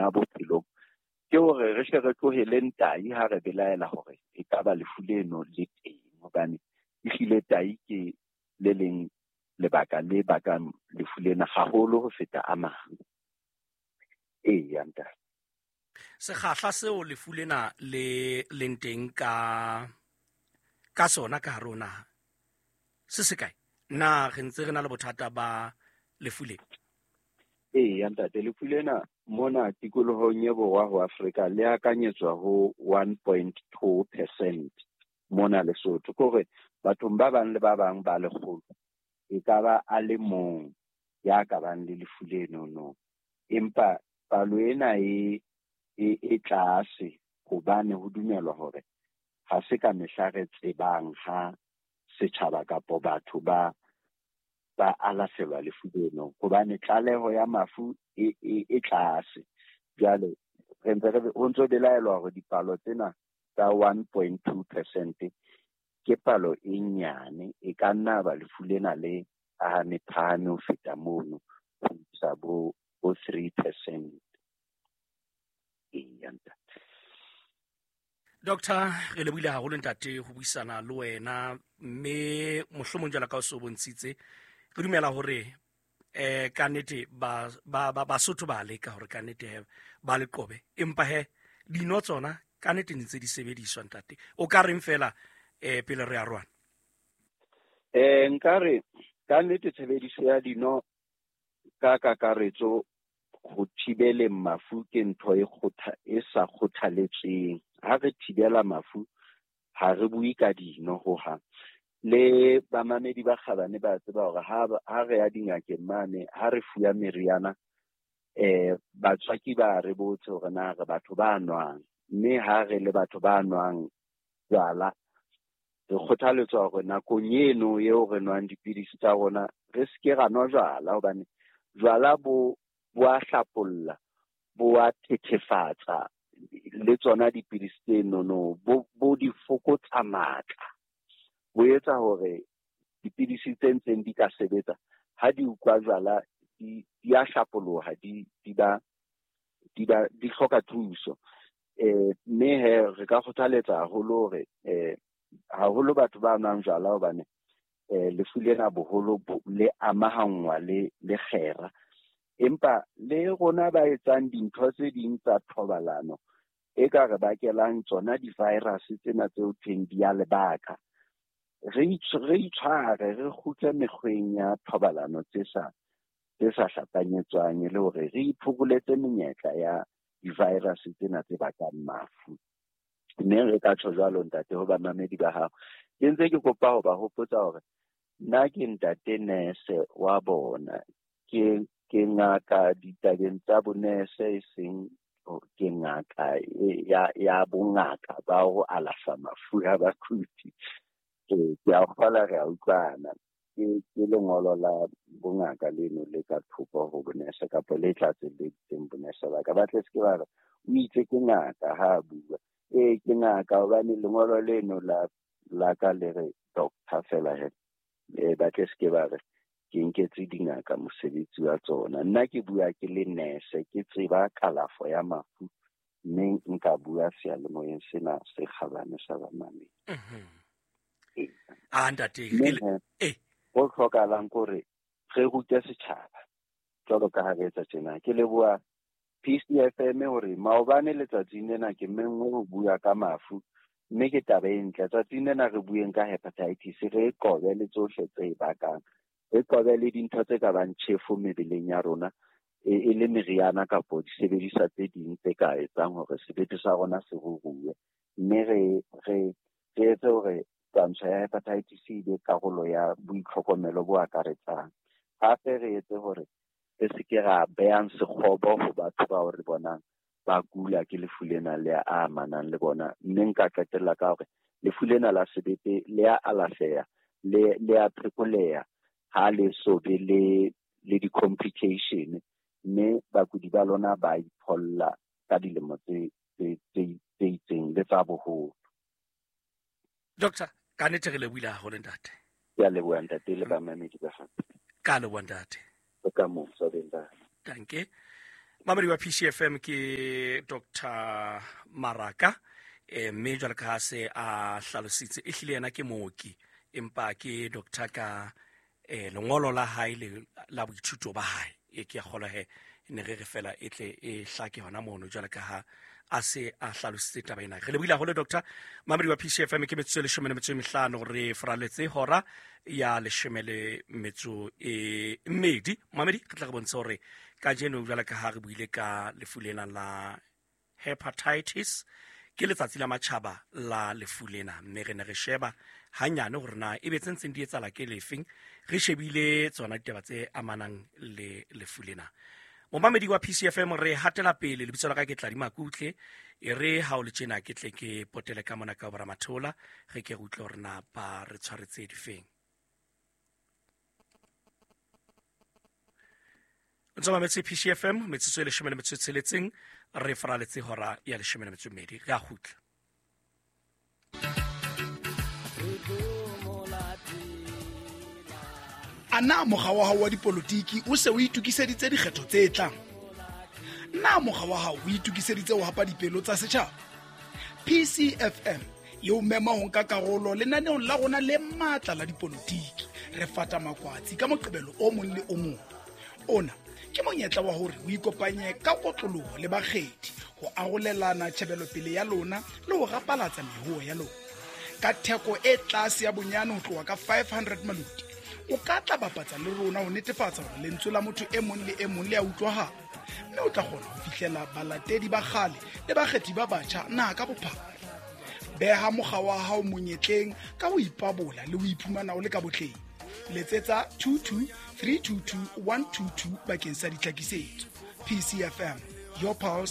kenya bophelong ke hore re hle re tloheleng tai ha re belaela hore e ka ba lefu leno le teng, hobane ehlile tai ke le leng lebaka le bakang lefu lena haholo ho feta a mang. Eya ntate. Sekgahla seo lefu lena le leng teng ka sona ka hare ho naha se se kae? Na re ntse re na le bothata ba lefu le? Eya ntate, lefu lena mona tikolohong e borwa ho Afrika le akanyetswa ho 1.2% mona Lesotho. Ke hore bathong ba bang le ba bang ba lekgolo e ka ba a le mong ya ka bang le lefu lenono. Empa palo ena e tlase hobane ho dumelwa hore ha se ka mehla re tsebang ha setjhaba kapo batho ba alafelwa lefu leno, hobane tlaleho ya mafu e tlase. Jwale re ntse re ho ntso belaelwa hore dipalo tsena tsa 1.2% ke palo e nyane, e ka nna ba lefu lena le phahame phahame ho feta mono ho isa bo 3%. Eya ntate. Doctor, re lebohile haholo ntate ho buisana le wena, mme mohlomong jwalo ka o so bontshitse, re dumela hore ka nnete Basotho ba leka hore ka nnete he ba le qobe, empa he dino tsona ka nnete ntse di sebediswa ntate. O ka reng fela pele re arohana? Nkare ka nnete tshebediso ya dino ka kakaretso ho thibeleng mafu ke ntho e sa kgothaletsweng. Ha re thibela mafu ha re bue ka dino hohang. Le bamamedi ba kgabane ba tseba hore ha re ya dingakeng mane, ha re fuwa meriana, batswaki ba re botse hore na re batho ba nwang, mme ha re le batho ba nwang jwala, re kgothaletswa hore nakong eno eo re nwang dipidisi tsa rona re seke ra nwa jwala, hobane jwala bo a hlapolla, bo a thethefatsa le tsona dipidisi tse nono, bo di fokotsa matla, bo etsa hore dipidisi tse ntseng di ka sebetsa ha di utlwa jwala di a hlapoloha, di hloka thuso. Mme he re ka kgothaletsa haholo hore haholo batho ba nwang jwala, hobane lefu lena boholo le amahanngwa le kgera. Empa le rona ba etsang dintho tse ding tsa thobalano e ka re bakelang tsona di-virus tsena tseo thweng di a lebaka, re itshware, re kgutle mekgweng ya thobalano tse sa hlapanyetswang, e le hore re iphokoletse menyetla ya di-virus tsena tse bakang mafu. Mme re ka tjho jwalo ntate ho bamamedi ba hao. Ke ntse ke kopa ho ba hopotsa hore nna ke ntate nese wa bona, ke ngaka ditabeng tsa bonese, e seng ke ngaka ya bongaka ba ho alafa mafu a bakudi. Ke a kgolwa re a utlwana. Ke lengolo la bongaka leno le ka thoko ho bonese kapa le tlatselleditseng bonese ba ka. Ba tle se ke ba re o itse ke ngaka ha a bua. Ee, ke ngaka hobane lengolo leno la ka le re doctor fela he. Ba tle se ke ba re ke nketse dingaka mosebetsi wa tsona. Nna ke bua ke le nese, ke tseba kalafo ya mafu, mme nka bua seyalemoyeng sena se kgabane sa bamamedi. A ntate, ho hlokahalang ke hore re rute setjhaba jwalo ka ha re etsa tjena. Ke leboha PCFM hore maobane letsatsing lena ke menngwe ho bua ka mafu, mme ke taba e ntle. Tsatsing lena re bueng ka hepatitis, re qobe le tsohle tse e bakang, re qobe le dintho tse ka bang tjhefo mebeleng ya rona, e le meriana kapo disebediswa tse ding tse ka etsang hore sebete sa rona se ruruwe. Mme re etse hore twantsho ya hepatitis e be karolo ya boitlhokomelo bo akaretsang. Hape re etse hore re se ke ra behang sekgobo ho batho bao re bonang ba kula ke lefu lena le a amanang le bona. Mme nka qetella ka hore lefu lena la sebete le a alafeha, le a phekoleha ha le so be le di-complication, mme bakudi ba lona ba ipholla ka dilemo tse itseng le tsa boholo. Doctor, ka nnete re lebohile haholo ntate. Ke a leboha ntate le bamamedi ba hao. Ka leboha ntate. Ka mosa beng ba. Danke. Mamedi wa PCFM ke Dr Maraka, mme jwalo ka ha se a hlalositse, e hlile yena ke mooki, empa ke doctor ka lengolo la hae le la boithuto ba hae. E ke a kgolwa he ne re re fela e tle e hlake hona mono jwalo ka ha a se a hlalositse taba ena. Re lebohile haholo, doctor. Mamedi wa PCFM, ke metsotso e 15 re faraletse hora ya 12. Mamedi, re tla re bontshe hore kajeno jwalo ka ha re buile ka lefu lena la hepatitis, ke letsatsi la matjhaba la lefu lena, mme re ne re sheba hanyane hore na ebe tse ntseng di etsahala ke lefeng, re shebile tsona ditaba tse amanang le lefu lena. Momamedi wa PCFM, re hatela pele. Lebitso la ka ke Tladi Makutle. E re ha o le tjena ke tle ke potele ka mona ka boramathola, re ke re utlwe hore na ba re tshwaretse difeng. O ntse mametse PCFM, metsotso e 16 re faraletse hora ya 12. Re a kgutla. A na mokga wa hao wa dipolotiki o se o itokiseditse dikgetho tse tlang? Na mokga wa hao o itokiseditse ho hapa dipelo tsa setjhaba? PCFM e o mema ho nka karolo lenaneong la rona le matla la dipolotiki. Re fata makwatsi ka Moqebelo o mong le o mong. Ona ke monyetla wa hore o ikopanye ka kotloloho le bakgethi ho arolelana tjhebelopele ya lona le ho rapalatsa mehoho ya lona. Ka theko e tlase ya bonyane ho tloha ka 500 maluti, o ka tla bapatsa le rona ho netefatsa hore lentswe la motho e mong le e mong le a utlwahala, mme o tla kgona ho fihlela balatedi ba kgale le bakgethi ba batjha naha ka bophara. Beha mokga wa hao monyetleng ka ho ipabola le ho iphumana o le ka botleng. Letsetsa 22 322 122 bakeng sa ditlhakisetso. PCFM, your pulse.